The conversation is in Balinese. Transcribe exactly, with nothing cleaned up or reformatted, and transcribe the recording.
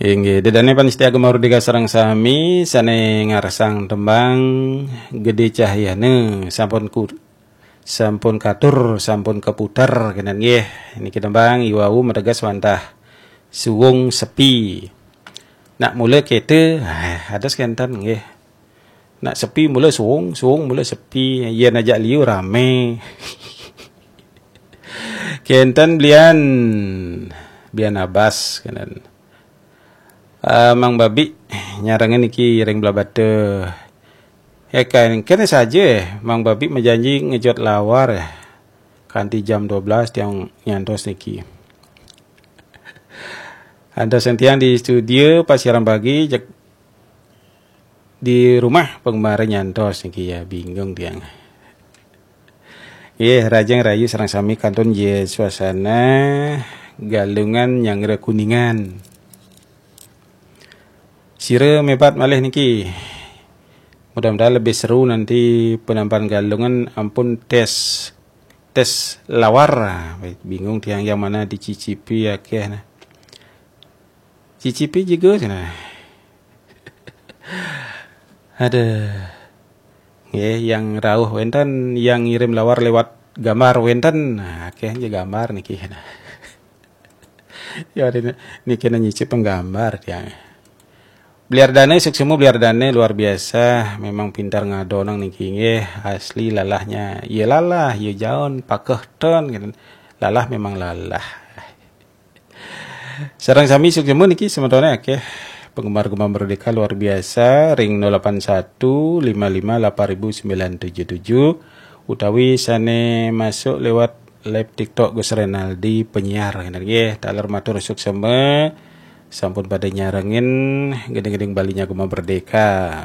Inggih, ida dané pamiarsa Gema Merdeka sareng sami sané ngarsang tembang Gedé Cahyana sampun ku, sampun katur, sampun kaputer kénten nggih. Niki tembang iwau mateges wantah suwung sepi. Nak mula kéto, ah, dados kénten nggih. Nak sepi mula suwung, suwung mula sepi. Yén ajak liu ramé. Kénten belian, belian abas kénten. Ah, Mang Babi nyarengin niki ring Blahbatuh. Ya kan, kéné saja Mang Babi majanji ngejot lawar kanti jam dua belas tiang nyantos niki. Ada sing tiang di studio pas siaran pagi, jeg di rumah penggemar nyantos niki ya, bingung tiang. Nggih, rahajeng rahayu sareng sami kantun nggih suasana Galungan nyanggra Kuningan. Sira mébat malih niki. Mudah-mudahan lebih seru nanti penampilan Galungan ampun tes, tes lawar. Bingung tiang yang mana dicicipi akéh nah. Cicipi juga cenah. Aduh. Nggih, yang rauh wénten, yang ngirim lawar lewat gambar wénten. Nah, akéh aja gambar niki. Nah. Ya, ini, niki nyicip penggambar tiang. Beliar Dane, suksma Beliar Dane luar biasa, memang pintar ngadonang niki nggih, asli lalahnya. Ya lalah, ya jaon, pakeh ten, gitu. Lalah memang lalah. Sareng sami suksma niki semetoné akéh penggemar Gema Merdeka luar biasa ring nol delapan satu lima lima delapan ribu sembilan tujuh tujuh utawi sané masuk lewat live TikTok Gus Renaldi penyiar nggih. Taler matur suksma sampun pada nyarengin gending-gending Balinya Gema Merdeka.